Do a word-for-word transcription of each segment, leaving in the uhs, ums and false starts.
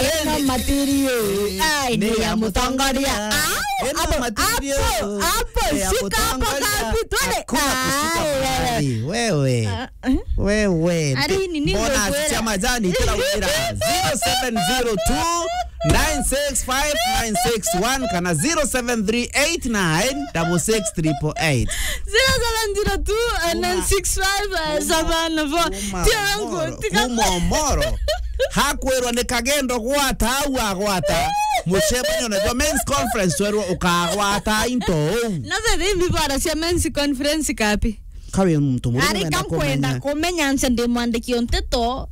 Ena material. Ai, ni ya mutongoria. Au, ena hapo, material. Hapo, hapo, eh, ya shika hapo mutongoria. Kapi, twende. Hakuna kushika mahali. Wewe. Ah, eh? Wewe. Ari, ni nini mbona ndio acicia majani kila wira? Zero seven zero two nine six five nine six one kana zero seven three eight nine double six triple eight. Zero seven zero two nine six five seven four. Tio yangu, tika- Kuma Omoro. Hakwirwa ni kagendo gwata au agwata. Mucemanio na men's conference twerwo ukagwata into uu. Na the thing people are cia men's conference kapi? Kawe muntu murume ari kankwenda kumenya nse ndi mwandiki o nteto,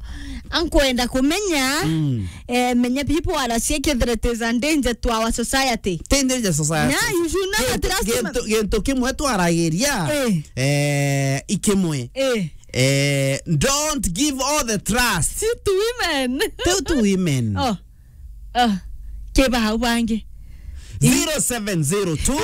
ankwenda kumenya, mm, eh, menya people are cia kethira it is a danger to our society. Ti danger society. Yeah, you should know that last gintu, gintu kimwe twaragiria, eh, eh, ikimwe. Eh. Eh, don't give all the trust to women. To, to women. Oh. Oh. Keba hau bangi. Zero seven zero two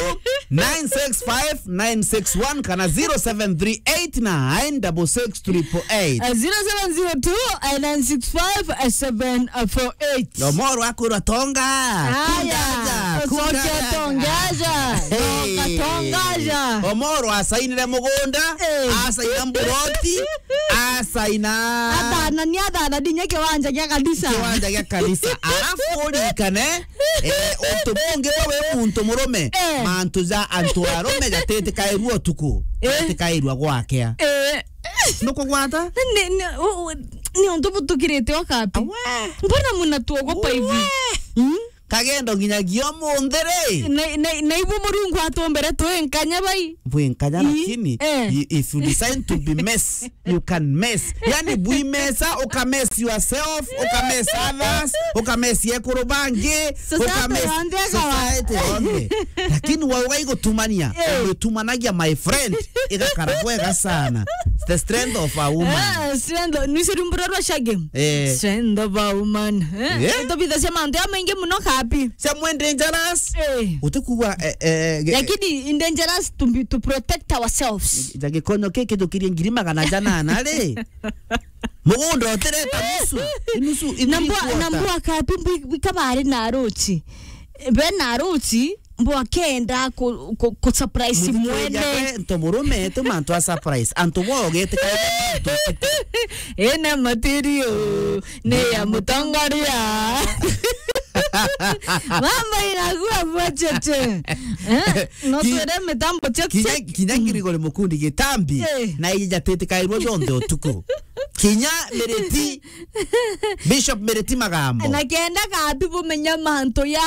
nine six five nine six one kana zero seven three eight nine double six triple eight. Uh, zero seven zero two nine six five seven four eight. Omoro akwirwa tonga. Aya, kungaja, kungaja. Tonga, tongaja. Omoro asainire mugunda, eh, asaina mburoti, asaina. Athana, ni athana, ndinya kiwanja gia kanisa. Kiwanja gia kanisa. Alafu urikane, eh, untu bungi bwa wi muntu murume, eh, mantu ja antu arume jatitikairua utuku, eh, jatikairua gwakea. Eh. Nukugwata? Ni, ni, u-, u-, ni untu butukirite o kapi? Awe. Mbona mnatuogopa hivi? Uwe. Hmm? Kagendo nginyagia umunthi ri. Na, na, na ibu Murungu atumbire twi nkanya bai. Bwi nkanya, ii, lakini, eh, i-, if you decide to be mess, you can mess. Yani bwi mesa, uka mess yourself, uka mess others, uka mess ekuru bangi, society uka mess yonthe ikawa. Society yonthe. Lakini wauga igutumania, eh, ugitumanagia, my friend, igakara bwega sana. The strength of a woman. Eh, strength, nwisiri mbura rwa Shagem. Eh. Strength of a woman. Eh? Yeah. Utobithagia mantu ya maingi muno kapi. Cia mwe dangerous. Eh. Utikugua, eh, eh, ge- Lakini in dangerous to be, to protect ourselves. Ja gikonyo ki kithukirie ngiri magana janana ri. Mugunda utireta nusu. Nusu, na mbwa, na mbwa kapi mbwi, bika bari na aruchi. Be na aruchi, mbwa kenda ku, ku, ku surprise mwene. Nto murume, tu mantu a surprise. Antu bo gete ka. Ina material, ni ya mutongoria. Mambo inakuwa bwechete. Eh? No ki-, twere mitambo check, kinya, check. Kinya ngiri gore mukundi gitambi, eh, na ijatitikairwo jonthe utuku. Kinya Miriti, Bishop Miriti Magambo. Na kenda kabi bumenya mantu ya,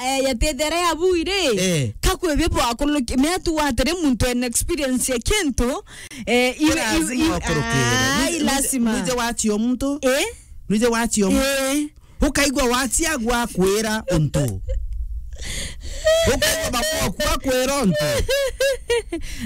eh, ya tethere ya buire. Eh. Kakwe bibo akuluki, me tu watere muntu en experience ya kintu, eh, iwe, iwe, lazima iwe, wakurukire. Ai, lazima. Nuje wachio muntu? Eh? Nuje wachio muntu? Eh. Ukaigua wachiagwa akwira untu. Ukaigua baboku akwira untu.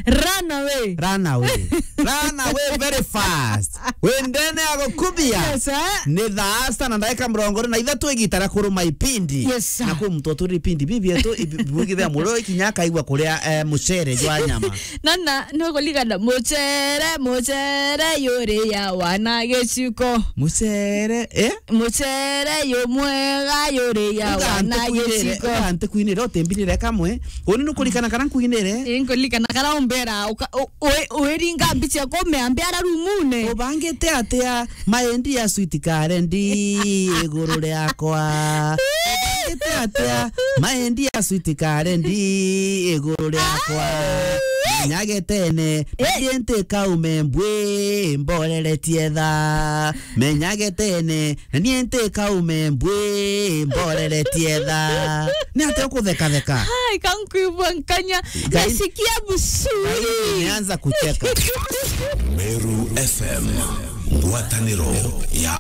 Run away. Run away. Run away very fast. Wendene agukubia. Yes, sir. Ni thaa sita na ndagika mirongo iri na ithatu igita ria kuruma ipindi. Yes, sir. Na kwi muntu uturi ipindi bibi yetu, ibi-, bwigithia murio ikinya akaigua kuria, eh, mucere jwa nyama. Na, na, ni ukuligana mucere, mucere yuri ya wana giciko. Mucere, eh? Mucere yu mwega yuri ya wana giciko. Uga ntikwinire, uga ntikwinire, utimbirire kamwe. Uni nukuririkana kana nkwinire? Ii, nkuririkana kana umbera, uka-, u-, u-, wiringa mbicha kume ambia ara rumune. Ubangite atia? Maendi ya sweet karendi iguru riakwa. Ubangite atia? Maendi ya sweet karendi iguru riakwa. Menya getene, na nie nti kaume mbwi, mboreretie tha. Menya getene, na nie nti kaume mbwi, mboreretie tha. Ni atia ukuthekatheka? Hai, kankwibwa nkanya. Ngai, nasikia vizuri. Ngai, nimeanza kucheka. Meru F M, ngwataniro ya